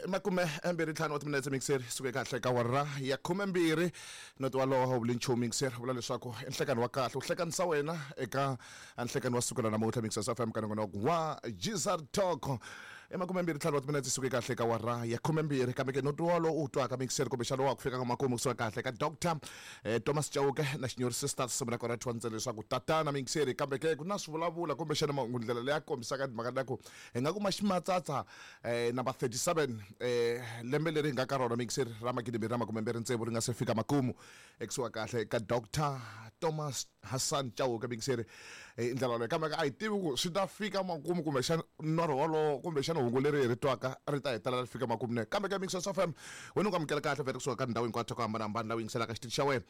Makume mbirhi ntlhanu wa timinetse mixer suke kahle ka wara ya 12 noti walowo vuli nchumu mixer vula leswaku i nhlekani wa kahle u hlekanisa wena eka nhlekani wa siku ra namuntlha Mixers FM ka nongonoko wa Gizar Talk. I 25 wa timinetse suke kahle ka wara ya 12 kambe ke noti walowo u twaka mixer kumbexana wa ku fika ka makumu kusuka kahle ka Dr Thomas Chauke na Xinyori Sisters simu ra kona thwa ntsena leswaku tatana mixer kambe ke ku na swivulavula kumbexana mahungu ndlela leyi a kombisaka timhaka ta ku hi nga kuma ximatsatsa number 37 lembe leri hi nga ka rona mixer ra 2026 ri nga se fika makumu ekusuka kahle ka Dr Thomas Hassan Chauke mixer hi ndlela leyi kambe a hi tivi ku swi ta fika makumu kumbexana norho wolowo kumbexana hungu leri hi ri twaka ri ta hetelela ri fika makumu ne kambe ka Mixer FM wena u nga amukela kahle vhele kusuka ka ndhawu hinkwato ku hambanahambana laha u yingiselaka xitichi xa wena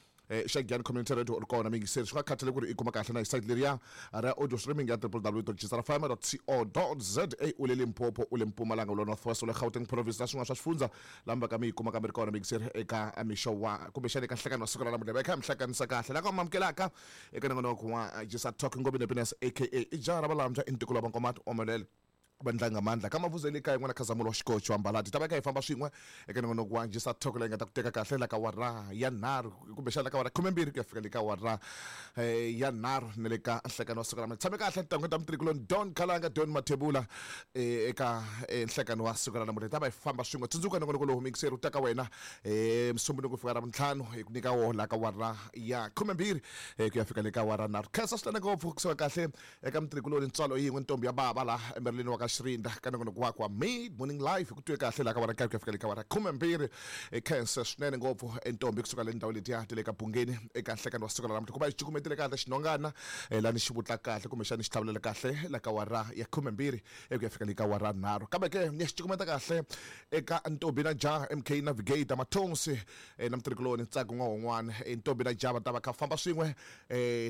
xa Giyani Community Radio u ri kona muyingiseri swi nga khathali ku ri i kuma kahle na hi site leriya ra audio streaming ya www.gsrfm.co.za u le Limpopo u le Mpumalanga u le North West u le Gauteng province na swin'wana swa swifundza laha mi va ka mi yi kuma kambe ri kona muyingiseri eka mixo wa kumbexana eka nhlekani wa siku ra namuntlha va kha mi hlanganisa kahle la ka mi amukelaka eka nongonoko wa Gisa Talk Ngobeni Happiness aka i jaha ra valambya i ntikulu wa vankomati omelele vandla nga ka mavuzo ya le kaya n'wana khazamulo wa xikocho wa mbalati ta va kha hi famba swin'we eka nongonoko wa Gisa Talk leyi nga ta ku teka kahle la ka wara ya nharhu kumbexana la ka wara 12 ku ya fika le ka wara ya nharhu na le ka nhlekani wa siku ra tshame kahle titangwe ta mutirhikuloni Don Khalanga Don Mathebula eka nhlekani wa siku ra namuntlha hi ta va hi famba swin'we tsundzuka nongonoko lowu mixer u ta ka wena musumbunuko ku fika ravuntlhanu hi ku nyika woho la ka wara ya 12 ku ya fika le ka wara nharhu khensa swinene ngopfu kusuka kahle eka mutirhikuloni ntswalo yin'we ntombi ya bava laha emereleni wa ka Xirinda ka nongonoko wakwe wa Mid Morning Live hi ku twe kahle laha ka wara nkaye ku ya fika le ka wara 12 hi khense swinene ngopfu entombi kusuka le ndhawu letiya ta le ka Bungeni eka nhlekani wa siku ra namuntlha ku va hi cukumetile kahle xinhongana lani xi vutla kahle kumbexani xi tlhavelela kahle la ka wara ya 12 ku ya fika le ka wara nharhu kambe ke ni ya xi cukumeta kahle eka ntombi na jaha MK Navigator Mathonsi na mutirhikuloni Ntsako N'wahon'wana ntombi na jaha va ta va kha famba swin'we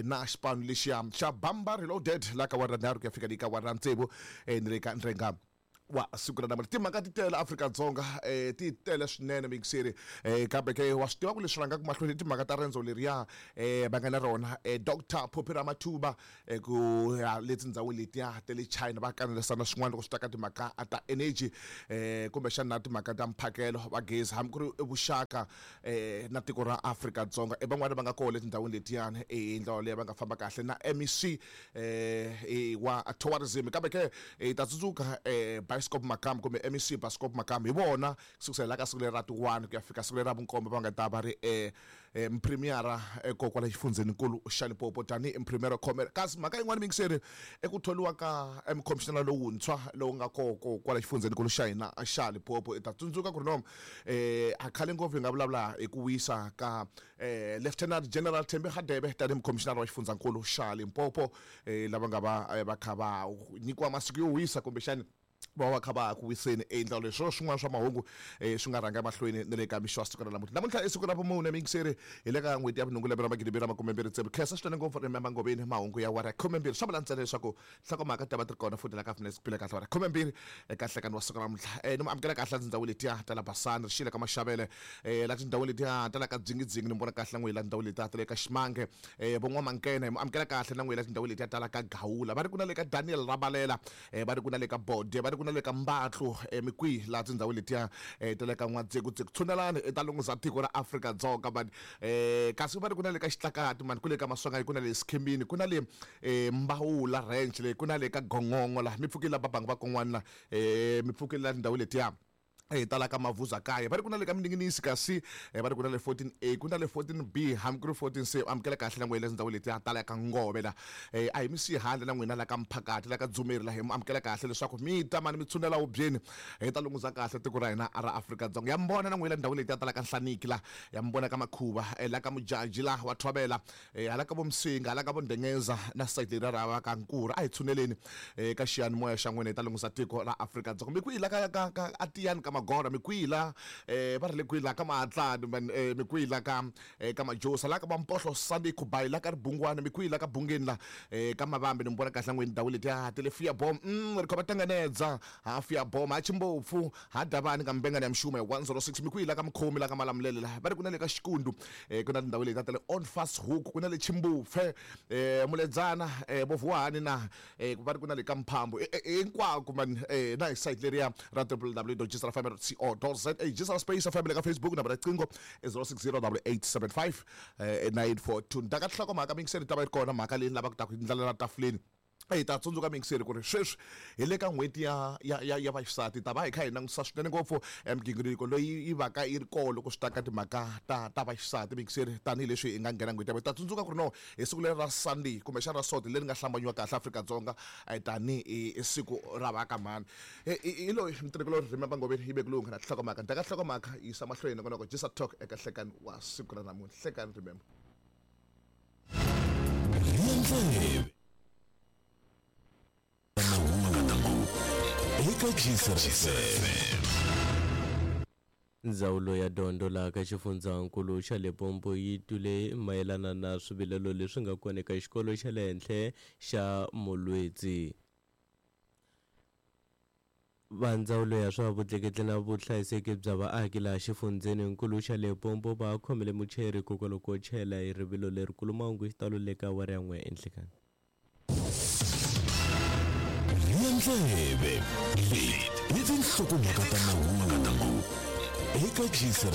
na xipano lexiya xa Bamba Reloaded la ka wara nharhu ku ya fika le ka wara tsevu ni le ka ndrenga wa siku ra namuntlha timhaka ti tele Afrika-Dzonga ti tele swinene muyingiseri kambe ke wa swi tiva ku leswi rhangaka mahlweni i timhaka ta rendzo leriya va nga na rona Doctor Phophi Ramathuba ku ya le tindhawini letiya ta le China va kanerisana swin'wana loko swi ta ka timhaka ta energy kumbexana na timhaka ta mphakelo wa gezi hambi ku ri vuxaka na tiko ra Afrika-Dzonga i van'wani va nga kona le tindhawini letiyani hi ndlela leyi va nga famba kahle na MEC wa tourism kambe ke hi ta tsundzuka Bioscope Makamu kumbe MEC Bioscope Makamu hi vona kusukela la ka siku leri ra ti 1 ku ya fika siku leri ra vunkombo va nga ta va ri mpremiera kwala xifundzheninkulu xa Limpopo tanihi mpremiera khomela kasi mhaka yin'wana miyingiseri i ku thoriwa ka mukhomishinara lowuntshwa lowu nga koko kwala xifundzheninkulu xa hina xa Limpopo i ta tsundzuka ku ri no a khale ngopfu hi nga vulavula hi ku wisa ka Lieutenant General Thembi Hadebe tanihi mukhomishinara wa xifundzankulu xa Limpopo lava nga va va kha va nyikiwa masiku yo wisa kumbexani va va kha va ha ku wiseni endla leswo swin'wana swa mahungu swi nga rhanga emahlweni na le ka mixo wa siku ra namuntlha namuntlha i siku ra vumune miyingiseri hi le ka n'hweti ya vunhungu lembe ra 2026 khensa swinene ngopfu remember ngoveni mahungu ya wara 12 swa vula ntsena leswaku nhlokomhaka ti ta va ti ri kona futhi la ka finesse phila kahle wara 12 eka nhlekani wa siku ra namuntlha ni mu amukela kahle tindhawu letiya ta la Basani rixile ka Maxavele la tindhawu letiya ta la ka Dzingidzingi ni vona kahle na n'wina la tindhawu letiya ta le ka Ximange von'wamankene hi mu amukela kahle na n'wina la tindhawu letiya ta la ka Gawula va ri ku na le ka Daniel Rabalela va ri ku na le ka Bode va ri ku na le ka Mbatlu mi kwihi laha tindhawu letiya ta le ka N'wadzekudziku tshunelani i ta lunghisa tiko ra Afrika-Dzonga mani kasi va ri ku na le ka Xitlakati mani ku le ka Maswanganyi ku na le Skhembini ku na le Mbawula ranch le ku na le ka Gongongo laha mi pfukile la Babangu va kon'wana la mi pfukile la tindhawu letiya hi tala ka Mavuza kaya va ri ku na le ka Mininginisi kasi va ri ku na le 14A ku na le 14B hambi ku ri 14C amukela kahle na n'wina tindhawu letiya tala ka Ngove la a hi mi siyi handle na n'wina la ka Mphakati la ka Dzumeri la hi mu amukela kahle leswaku mi ta mani mi tshunela hubyeni hi ta lunghuza kahle tiko ra hina ra Afrika-Dzonga ya mi vona na n'wina ndhawu letiya tala ka Nhlaniki la ya mi vona ka Makhuva la ka Mujaji la wa Thobela hala ka vo Msinga hala ka vo Ndengeza na sayiti leriya ra va ka Nkura a hi tshuneleni ka xiyanimoya xa n'wina hi ta lunghisa tiko ra Afrika-Dzonga mi kwihi la ka ka ka atiyani ka Magora mi kwihi la va ri le kwihi la ka Mahatlani man mi kwihi la ka ka Majosa la ka Vampohlo Sunday Khubayi la ka Ribungwana mi kwihi la ka Bungeni la ka Mavambi ni mi vona kahle n'wini ndhawu letiya ti le Fiabom ri khoma tanganedza ha Fiabom ha Chimbopfu ha Davani ka Mbengani ya Mxuma hi 106 mi kwihi la ka Mkhomi la ka Malamulele la va ri ku na le ka Xikundu ku na tindhawu leti ta le On Fast Hook ku na le Chimbupfe Muledzana Vovuwani na va ri ku na le ka Mphambu hinkwako man na hi site leriya ra www.gsrfm. co za. Jisara Space FM le ka Facebook, nambara riqingho i 060 875 942. Ndaka nhlokomhaka mingiseri ta va yi ri kona mhaka leyi ni lavaka ta ku ndlalela tafuleni. Hi ta tsundzuka mingiseri ku ri sweswi hi le ka n'hweti ya ya ya ya vaxisati, ta va hi kha hi langutisa swinene ngopfu migingiriko leyi yi va ka yi ri koho loko swi ta ka timhaka ta vaxisati mingiseri, tanihileswi hi nga nghena n'hweti ya ta tsundzuka ku ri no hi siku leri ra Sunday kumbexana ra Sonto leri nga hlambanyiwa kahle Afrika-Dzonga tanihi siku ra va ka mhani. Hi loyi mutirhikulori Remember Ngoveni yi vekulunga na nhlokomhaka ndaka nhlokomhaka yisa mahlweni nongonoko Jisa Talk eka nhlekani wa siku ra namuntlha. Hlekani Remember. Ndleve mahungu eka Gisa FM. Ndzawulo ya dyondzo laha ka xifundzankulu xa Limpopo yi twile mayelana na swivilelo leswi nga kona eka xikolo xa le henhla xa Molwetsi. Va ndzawulo ya swa vutleketli na vuhlayiseki bya vaaki laha xifundzheninkulu xa Limpopo va khomile muchayeri hikokwalaho ko chayela hi rivilo lerikulu. Mahungu hi xitalo le ka awara ya n'we enhlekani. Rhiya ndleve, leti i tinhlokomhaka ta mahungu eka Gisa.